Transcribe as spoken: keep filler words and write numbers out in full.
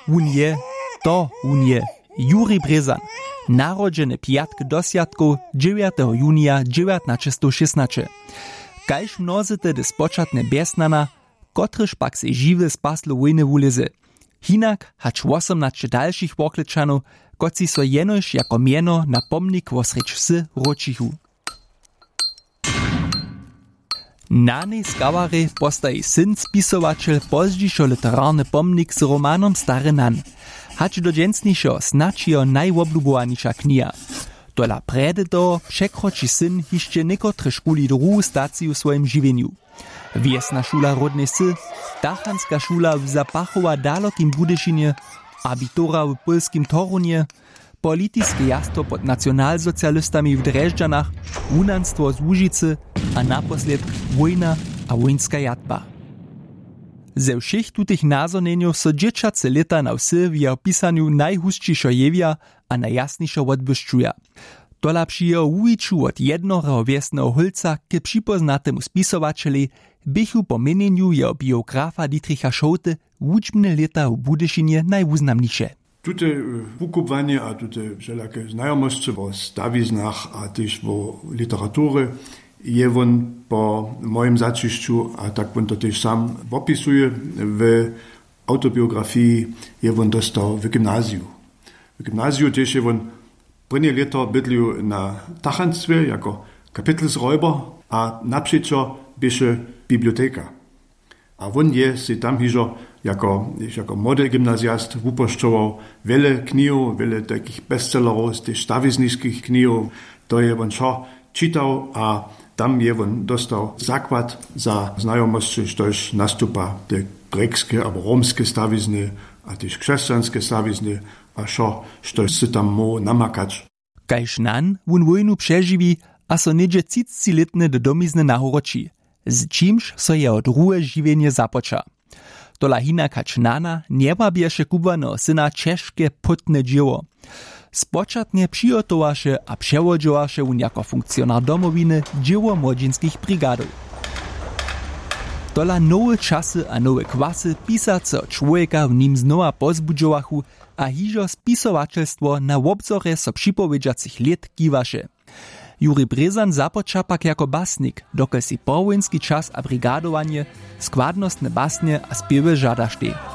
Wón je, to wón je, Juri Brězan, narodźeny pjatk do swjatkow, dźewjateho junija dźewjatnaćestowšěstnaće. Kaž mnozy tehdy spočatnje bjeznana, kotryž pak sej žiwy z paslow wójny wulězy. Hinak hač wosomnaće dalšich Worklečanow, kotřiž so jenož jako mjeno na pomnik wosrjedź wsy wróćichu. Na njej skawarje postaji syn spisowaćel pozdźišo literarny pomnik z romanom Stary Nan. Hač do dźensnišeho snadź jeho najwoblubowaniša kniha. Tola prjedy toho překroči syn hišće někotrežkuli druhu staciju w swojim žiwjenju. Wjesna šula Ródnej Wsy, tachanska šula w Zapachowa dalokim Budyšinje, abitura w pólskim Torunje, politiske jastwo pod nacionalsocialistami w Drježdźanach, wunanstwo z Łužicy a naposlědk wójna a wójnska jatba. Ze wšěch tutych nazhonjenjow so dźěćace lěta na wsy w jeho pisanju najhusćišo jewja a najjasnišo wotbłyšćuja. Tola při jeho wuwiću wot jednoreho wjesneho hólca k připóznatemu spisowaćelej běchu po měnjenju jeho biografa Dietricha Šołty wučbne lěta w Budyšinje najwuznamniše. Tute wukubłanje a tute wšelake znajomosće wo stawiznach a tež wo literaturje je wón po mojim zaćišću, a tak wón to tež sam wopisuje w awtobiografiji, je wón dóstał w gymnaziju. W gymnaziju tež je wón prěnje lěto bydlił na tachanstwje jako kapitelsrojber a napřećo běše biblioteka. A wón je sej tam hižo jako, jako młody gymnaziast wupošćował wjele knihow, wjele tajkich bestsellerow, tež stawizniskich knihow. To je wón wšo čitał a tam je wón dóstał zakład za znajomosće, štož nastupa te grjekskeje abo romskeje stawizny a tež křesćanskeje stawizny a wšo, štož sy tam móhł namakać. Kaž Nan wón wójnu přežiwi a so něhdźe třicci lětnje do domizny nawróći, z čimž so jeho druhe žiwjenje započa. Tola hinak hač Nana njewabješe kubłaneho syna ćežke, płótne dźěło. Spočatnje přihotowaše a přewodźowaše wón jako funkcionar Domowiny dźěło młodźinskich brigadow. Tola nowe časy a nowe kwasy pisaceho čłowjeka w nim znowa pozbudźowachu a hižo spisowaćelstwo na wobzorje so připowědźacych lět kiwaše. Juri Brězan započa pak jako basnik, dokelž sej powojnski čas a brigadowanje, składnostne basnje a spěwy žadaštej.